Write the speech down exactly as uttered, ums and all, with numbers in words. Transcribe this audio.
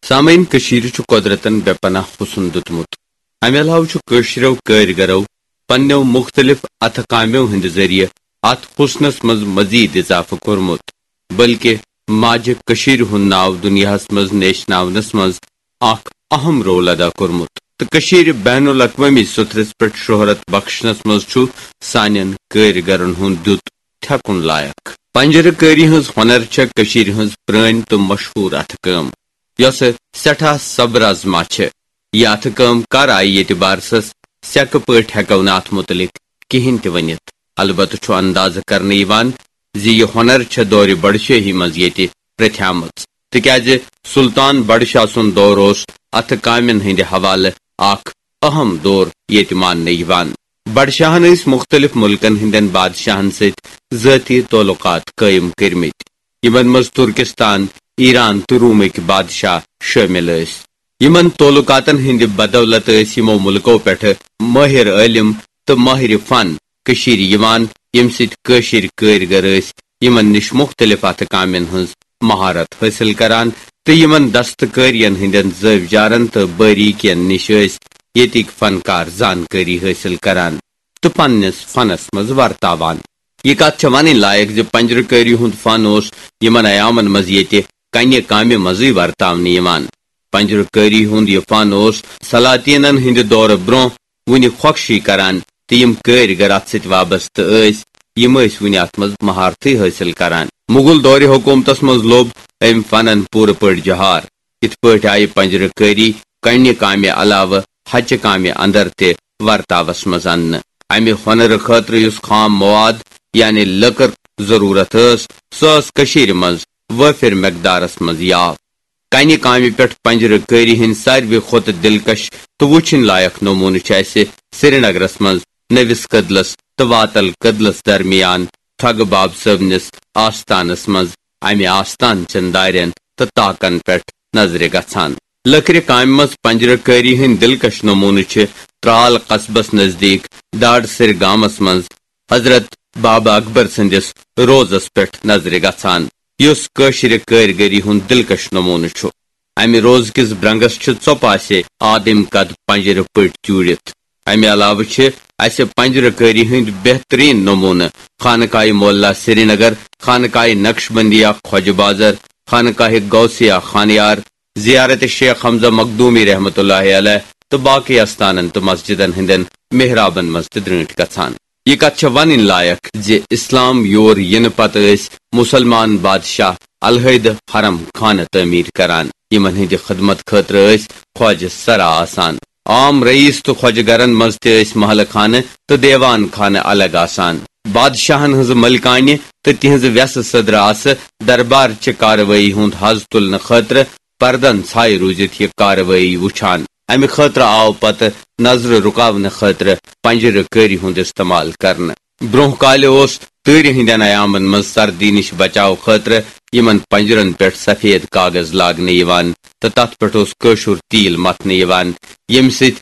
سامعین، کٔشیٖرِ چھُ قۄدرتن بے پناہ حُسن دیُتمُت۔ امہِ علاوٕ چھُ کٲشرٮ۪و کٲرۍگرو پننٮ۪و مُختٔلِف اتھٕ کامٮ۪و ہٕنٛدِ ذٔریعہٕ اتھ حُسنس منٛز مزید اضافہٕ کوٚرمُت، بلکہِ ماجہِ کٔشیٖرِ ہُنٛد ناو دُنیاہس منٛز نیشناونس منٛز اکھ اہم رول ادا کوٚرمُت تہٕ کٔشیٖرِ بین الاقوٲمی سطحس پٮ۪ٹھ شہرت بخشنس منٛز چھُ سانٮ۪ن کٲرۍگرن ہُنٛد دیُت تھٮ۪کُن لایق۔ پنجرٕ کٲری ہٕنٛز ہۄنر چھےٚ کٔشیٖرِ ہٕنٛز پرٛٲنۍ تہٕ مشہوٗر اتھٕ کٲم، یۄسہٕ سٮ۪ٹھاہ صبر آزما چھےٚ۔ یہِ اتھٕ کٲم کر آیہِ ییٚتہِ بارسس، سیٚکہٕ پٲٹھۍ ہٮ۪کو نہٕ اتھ مُتعلق کِہینۍ تہِ ؤنِتھ۔ البتہٕ چھُ اندازٕ کرنہٕ یِوان زِ یہِ ہۄنر چھےٚ دورِ بڈشٲہی منٛز ییٚتہِ پرٛتھیمٕژ، تِکیازِ سلطان بڈشاہ سُنٛد دور اوس اتھٕ کامٮ۪ن ہٕنٛدِ حوالہٕ اکھ اہم دور ییٚتہِ ماننہٕ یِوان۔ بڈشاہن ٲسۍ مُختٔلِف مُلکن ہٕنٛدٮ۪ن بادشاہن سۭتۍ ذٲتی تعلقات قٲیِم کٔرمٕتۍ، یِمن منٛز ترکستان، ایران تہٕ رومٕکۍ بادشاہ شٲمِل ٲسۍ۔ یِمن تعلقاتن ہٕنٛدِ بدولت ٲسۍ یِمو مُلکو پٮ۪ٹھٕ مٲہِر عٲلِم تہٕ مٲہِرِ فن کٔشیٖرِ یِوان، ییٚمہِ سۭتۍ کٲشِرۍ کٲرۍگر ٲسۍ یِمن نِش مُختٔلِف اتھٕ کامٮ۪ن ہٕنٛز مہارت حٲصِل کران تہٕ یِمن دستکٲرین ہٕنٛدٮ۪ن زٲوِجارن تہٕ باریٖکین نِش ٲسۍ ییٚتِکۍ فنکار زانکٲری حٲصِل کران تہٕ پننِس فنس منٛز ورتاوان۔ یہِ کتھ چھےٚ ونٕنۍ لایق زِ پنجرٕ کٲری ہُنٛد فن اوس یِمن ایامن منٛز ییٚتہِ کنہِ کامہِ منٛزٕے ورتاونہٕ یِوان۔ پنجرٕ کٲری ہُنٛد یہِ فن اوس سلاطینن ہٕنٛدِ دورٕ برونٛہہ وُنہِ خۄکشی کران تہٕ یِم کٲرۍ گر اتھ سۭتۍ وابستہٕ ٲسۍ، یِم ٲسۍ وُنہِ اتھ منٛز مہارتھٕے حٲصِل کران۔ مغل دورِ حکومتس منٛز لوٚب أمۍ فنن پوٗرٕ پٲٹھۍ جہار۔ یِتھ پٲٹھۍ آیہِ پنجرٕ کٲری کنہِ کامہِ علاوٕ ہچہِ کامہِ اندر تہِ ورتاوس منٛز اننہٕ۔ امہِ ہۄنرٕ خٲطرٕ یُس خام مواد یعنی لٔکٕر ضروٗرت ٲس، سۄ ٲس کٔشیٖرِ منٛز وٲفِر مقدارس منٛز یاو۔ کنہِ کامہِ پٮ۪ٹھ پنجرٕ کٲری ہٕنٛدۍ ساروی کھۄتہٕ دلکش تہٕ وُچھِنۍ لایق نموٗنہٕ چھِ اسہِ سرینگرس منٛز نٔوِس کدلس تہٕ واتل کدلس درمیان ٹھگہٕ باب صٲبنِس آستانس منٛز امہِ آستان چٮ۪ن دارٮ۪ن تہٕ تاکن پٮ۪ٹھ نظرِ گژھان۔ لٔکرِ کامہِ منٛز پنجرٕ کٲری ہٕنٛدۍ دلکش نموٗنہٕ چھِ ترال قصبس نزدیٖک ڈاڈ سِر گامس منٛز حضرت بابا اکبر سٕنٛدِس روزس پٮ۪ٹھ نظرِ گژھان، یُس کٲشرِ کٲرۍگٔری ہُنٛد دلکش نموٗنہٕ چھُ۔ امہِ روزٕ کِس برنگس چھِ ژۄپاسے آدم قد پنجرٕ پٔٹۍ جوٗڑِتھ۔ امہِ علاوٕ چھِ اسہِ پنجرٕ کٲری ہٕنٛدۍ بہتریٖن نموٗنہٕ خانقاہ مولا سرینگر، خانقاہ نقشبندیہ خواجہ بازر، خانقاہ غوثیہ خانیار، زیارت شیخ حمزہ مخدومی رحمتہ اللہ علیہ تہٕ باقی استانن تہٕ مسجدن ہٕنٛدٮ۪ن محرابن منٛز تہِ درٛٲنٛٹھۍ گژھان۔ یہِ کتھ چھےٚ ونٕنۍ لایق زِ اسلام یور یِنہٕ پتہٕ ٲسۍ مُسلمان بادشاہ الحیدٕ حرم خانہٕ تعمیٖر کران، یِمن ہٕنٛدِ خدمت خٲطرٕ ٲسۍ خواجہ سرا آسان۔ عام رئیس تہٕ خواجہ گرن منٛز تہِ ٲسۍ محلہٕ خانہٕ تہٕ دیوان خانہٕ الگ آسان۔ بادشاہن ہٕنٛزٕ ملکانہِ تہٕ تِہنٛزٕ وٮ۪سہٕ سٕدرٕ آسہٕ دربار چہِ کاروٲیی ہُنٛد حظ تُلنہٕ خٲطرٕ پردن ژھایہِ روٗزِتھ یہِ کاروٲیی وُچھان۔ امہِ خٲطرٕ آو پتہٕ نظرٕ رُکاونہٕ خٲطرٕ پنجرٕ کٲری ہُنٛد استعمال کرنہٕ۔ برونٛہہ کالہِ اوس تۭرِ ہٕنٛدٮ۪ن ایامن منٛز سردی نِش بچاو خٲطرٕ یِمن پنجرن پٮ۪ٹھ سفید کاغذ لاگنہٕ یِوان تہٕ تتھ پٮ۪ٹھ اوس کٲشُر تیٖل متھنہٕ یِوان، ییٚمہِ سۭتۍ